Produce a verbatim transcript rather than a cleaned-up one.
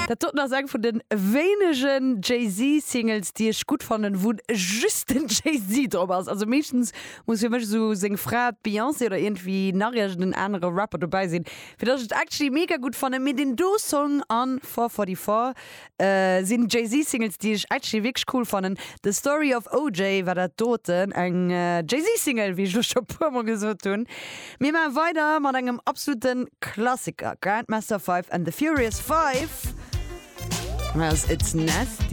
Dat doten ass eng vun de wéinegen Jay-Z-Singles, déi ech gutt fannen, wou just den Jay-Z drop ass. Also meeschtens muss fir mech sou seng Fra Beyoncé oder iergendwéi nach iergend en anere Rapper dobäi sinn, fir dass ech et actually mega gutt fannen. Mee deen do Song an four forty-four äh, sinn Jay-Z-Singles, déi ech actually wierklech cool fannen. The Story of O J war dat doten, eng äh, Jay-Z-Single, wéi ech schonn e puermol gesot hunn. Mir maache weider mat engem absolute Klassiker, Grandmaster Five and the Furious Five. It's Nasty.